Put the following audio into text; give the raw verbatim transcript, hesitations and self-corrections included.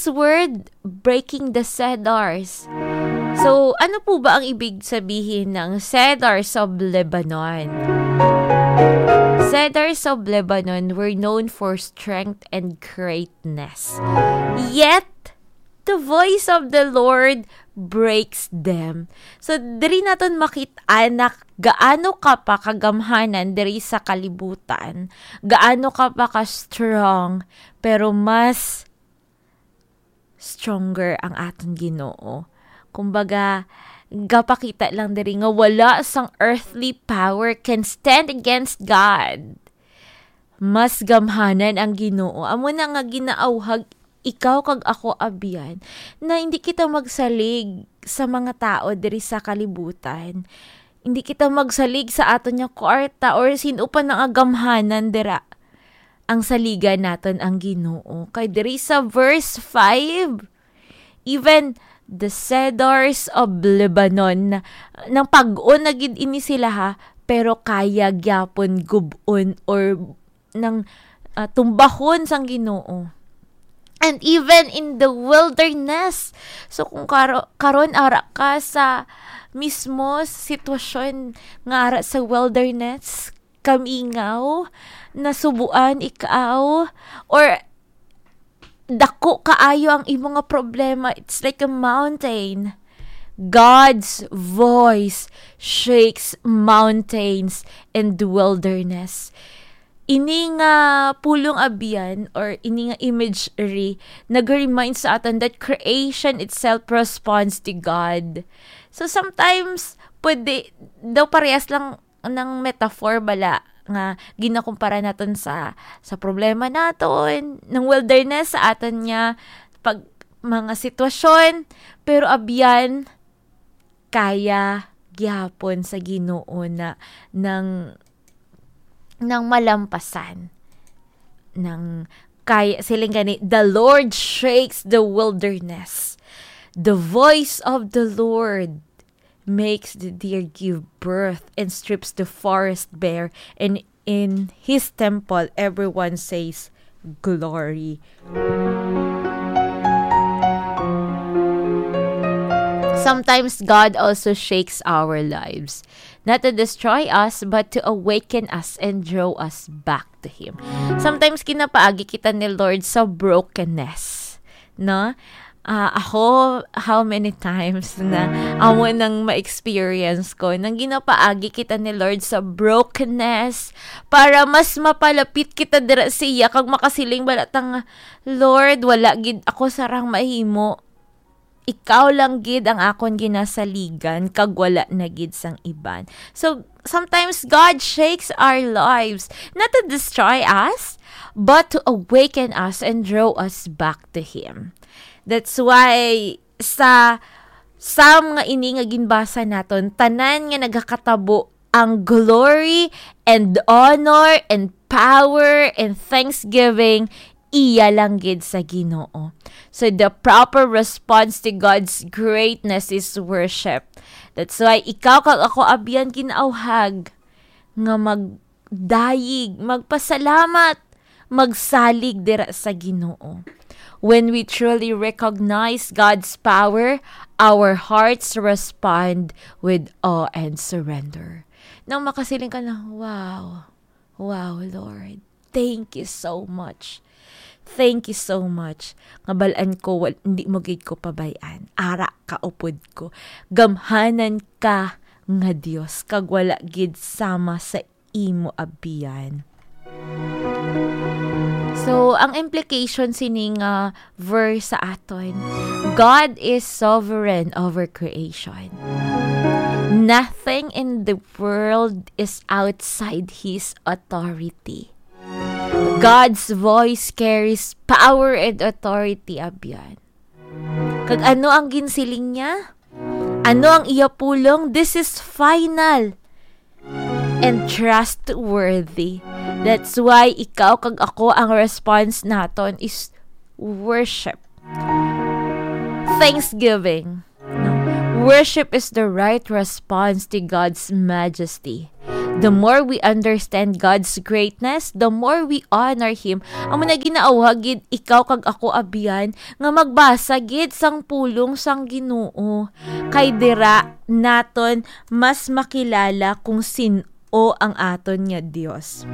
word, breaking the cedars. So, ano po ba ang ibig sabihin ng cedars of Lebanon? Cedars of Lebanon were known for strength and greatness. Yet, the voice of the Lord breaks them. So, diri naton makit-an na gaano ka pa kagamhanan diri sa kalibutan, gaano ka pa ka-strong, pero mas stronger ang aton Ginoo. Kumbaga, gapakita lang diri nga wala sang earthly power can stand against God. Mas gamhanan ang Ginoo. Amo na nga ginaawhag ikaw kag ako, abyan, na hindi kita magsalig sa mga tao diri sa kalibutan. Hindi kita magsalig sa aton nga kwarta or sin-o pa nga gamhanan dira. Ang saligan naton ang Ginoo. Kay diri sa verse five, even the cedars of Lebanon, nang pag-on na gid ini sila, ha, pero kaya gyapon gub-on or nang, ah, tumbahon sang Ginoo. And even in the wilderness. So, kung karo-, karon ara ka sa mismo sitwasyon nga ara sa wilderness, kamingaw, nasubuan ikaw, or dako kaayo ang imo nga problema, it's like a mountain. God's voice shakes mountains and wilderness. Ini nga pulong, abyan, or ini nga imagery, nag-remind sa aton that creation itself responds to God. So sometimes, pwede daw parehas lang ng metaphor bala nga ginakumpara naton sa, sa problema naton, ng wilderness sa aton nga pag, mga sitwasyon, pero abyan, kaya gyapon sa Ginoo na nang, nang malampasan. Nang kaya, siling gani, "The Lord shakes the wilderness. The voice of the Lord makes the deer give birth and strips the forest bare, and in his temple everyone says, 'Glory.'" Sometimes God also shakes our lives, not to destroy us, but to awaken us and draw us back to Him. Sometimes ginapaagi kita ni Lord sa brokenness, no? Ah, ako, how many times na amo nang ma-experience ko, nang ginapaagi kita ni Lord sa brokenness, para mas mapalapit kita dira sa iya, kag makasiling bala ta nga, "Lord, wala gid ako sarang mahimo. Ikaw lang gid ang akon ginasaligan, kag wala na gid sang iban." So, sometimes God shakes our lives, not to destroy us, but to awaken us and draw us back to Him. That's why sa Psalm nga ini nga ginbasa naton, tanan nga nagakatabo ang glory and honor and power and thanksgiving, iya lang gid sa Ginoo. So the proper response to God's greatness is worship. That's why ikaw kag ako, abyan, ginaawhag nga magdayeg, magpasalamat, magsalig dira sa Ginoo. When we truly recognize God's power, our hearts respond with awe and surrender. Nang makasiling ka na, "Wow, wow, Lord, thank you so much. Thank you so much. Nga bal-an ko, wal-, hindi mo gid ko pabay-an. Ara ka upod ko. Gamhanan ka nga Dios, kag wala gid sama sa imo, abyan." So, ang implication sini nga verse sa aton, God is sovereign over creation. Nothing in the world is outside His authority. God's voice carries power and authority, abyan. Kag ano ang ginsiling niya? Ano ang iya pulong? This is final and trustworthy. That's why ikaw kag ako, ang response naton is worship. Thanksgiving. No? Worship is the right response to God's majesty. The more we understand God's greatness, the more we honor Him. Amo na ginauha gid ikaw kag ako, abyan, nga magbasa gid sang pulong sang Ginoo. Kay dira naton mas makilala kung sin-o ang aton nga Dios.